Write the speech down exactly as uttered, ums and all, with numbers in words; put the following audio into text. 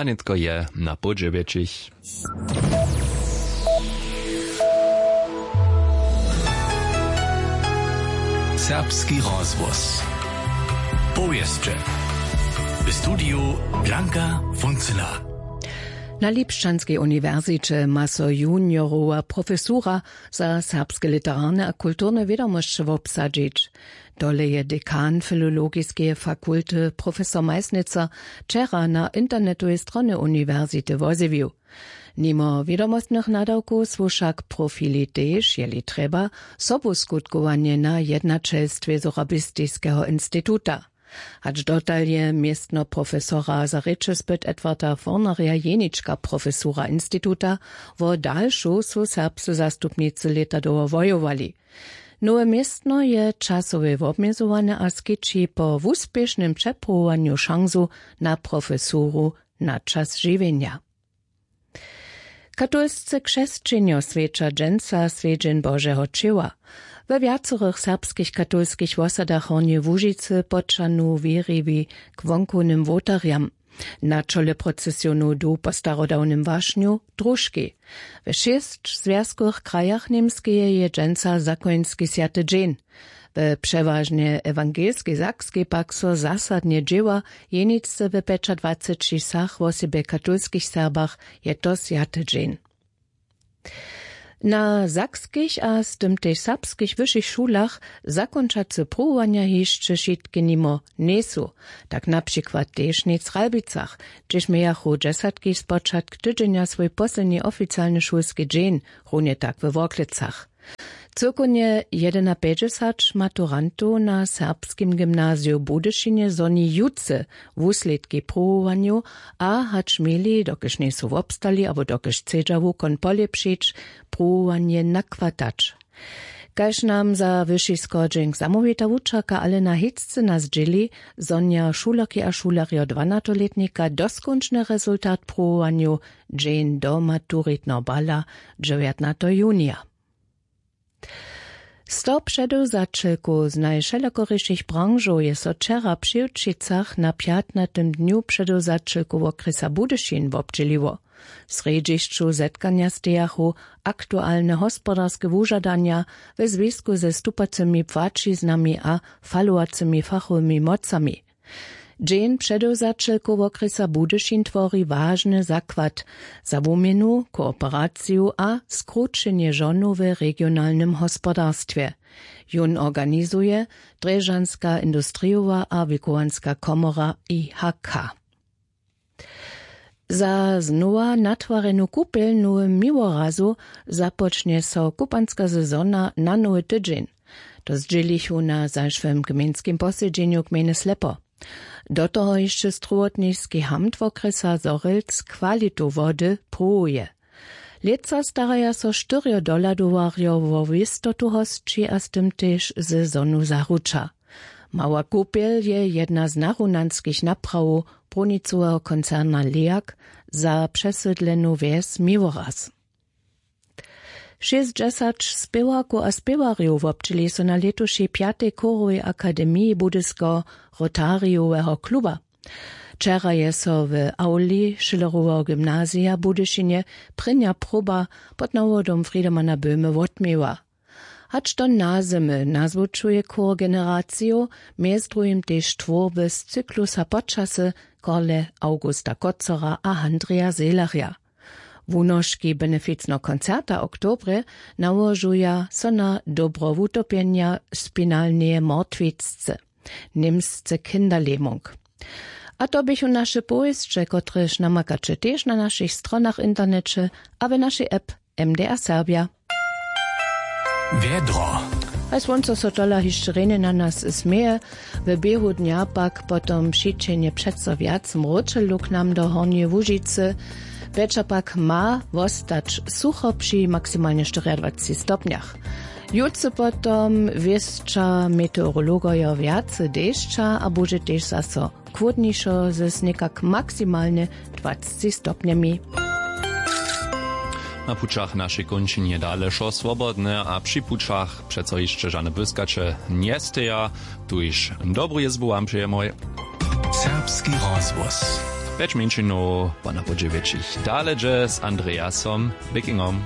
A nětko je na poł dźewjećich. Serbski rozhłos. Powěsće. W studiju Blanka Funzela. Na Lipšćanskej uniwersiće ma so juniorowa profesura za serbske literarne a kulturne wědomosće wobsadźić. Tole je dekan filologiskeje fakulty, profesor Meisnitzer, wčera na internetowej stronje uniwersity wozjewił. Nimo wědomostnych nadawkow su wšak profili tež, jeli trjeba, sobuskutkowanjena jednaćelstwje Sorabistiskeho instituta. Hač dotal je městno profesora za rěčespyt Edwarda Fornarja jenička profesura instituta, wo dalšu su serbscy zastupnicy lěta dołho wojowali. Nowe městno je časowej wobmjezowane a skići po wuspěšnym přepruwowanju šansu na profesuru na čas žiwjenja. Katolsce křesćenjo swjeća dźensa swjedźeń Božeho ćěła. We wjacorych serbskich katolskich wosadach Hornjeje Łužicy poćahnu wěriwi k wonkownym wołtarjam. Na čole procesionu du po starodawnym wašnju družki. We šěsć zwjazkowych krajach Němskeje je dźensa zakoński swjaty dźeń. We přewažnje ewangelskej Sakskej pak so zasadnje dźěła, jeničce we pjećadwaceći wsach, wosebje katolskich Serbach, je to swjaty dźeń. Na sakskich a z tym tež serbskich wyšich šulach zakónčace pruwowanja hišće wšitke nimo njejsu. Tak na přikład tež něc w Ralbicach, hdźež mějachu dźesatki spočatk tydźenja swój posledni oficialny šulski dźeń, runje tak we Worklecach. Cyłkownje jedynapjećdźesat maturantow na Serbskim gymnaziju w Budyšinje zhoni jutře wuslědki pruwowanjow a hač měli, dokelž njejsu wobstali abo dokelž chcedźa wukon polěpšić, pruwowanje nakwatać. Kaž nam za wyši schodźenk zamołwita wučerka Alena Hiccyna zdźěli, zhonja šulerki a šulerjo dwanaćolětnika doskónčny rezultat pruwowanjow dźeń do maturitneho bala dźewjatnateho junija. Sto předewzaćelkow z najwšelakorišich branžow je so wčera při Wčicach na pjatnatym dnju předewzaćelkow wokrjesa Budyšin wobdźěliło. W srjedźišću zetkanja stejachu aktualne hospodarske wužadanja we zwisku ze stupacymi płaćiznami a falowacymi fachowymi mocami. Dźeń předewzaćelkow wokrjesa Budyšin twori wažny zakład za wuměnu, kooperaciju a skrućenje žonow w regionalnym hospodarstwje. Jón organizuje Drježdźanska industrijowa a wikowanska komora I H K. Za znowa natwarjenu kupjel w Nowym Miłorazu započnje so kupanska sezona na nowy tydźeń. To zdźělichu na zašłym gmejnskim posedźenju gmejny Slepo. Do toho hišće strowotniski hamt wokrjesa Zhorjelc kwalitu wody pruwuje. Lětsa staraja so štyrjo dohladowarjo wo wěstotu hosći a z tym tež sezonu zaruča. Mała kupjel je jedna z narunanskich naprawow brunicoweho koncerna Leak za přesydlenu wjes Miłoraz. Šěsćdźesać spěwarkow a spěwarjow wobdźěli so na lětušej pjatej chórowej akademiji Budyskeho Rotarijoweho kluba. Wčera je so w awli Schilleroweho gymnazija w Budyšinje prěnja proba pod nawodom Friedemana Böhme wotměła. Hač do nazymy nazwučuje chór generaciju, mjez druhim tež twórby z cyklusa Počasy Korle Augusta Kocora a Handrija Sehlerja. Wunoški beneficneho koncerta w oktobrje nałožuja so na dobro wutopjenja spinalneje mortwicce, němsce Kinderlähmung. A to běchu naše powěsće, kotrež namakaće tež na našich stronach w interneće a w našej app M D R Serbja. Wjedro. A słónco so tola hišće rjenje na nas směje. W běhu dnja pak potom přićehnje přeco wjac mróčelu k nam do Hornjeje Łužicy. Wječor pak ma wostać sucho při maksimalnje štyriadwaceći stopnjach. Jutře potom wěsća meteorologojo wjace dešća a budźe tež zaso chłódnišo z někak maksimalnje dwaceći stopnjemi. Na pućach našej kónčinje dale wšo swobodne a při pućach přeco hišće žane błyskaće njesteja. Tuž dobru jězbu wam přejemoj. Serbski rozhłos. Pjeć mjeńšinow po na podźe wjetšich dale dźe z Andreasom Wickingom.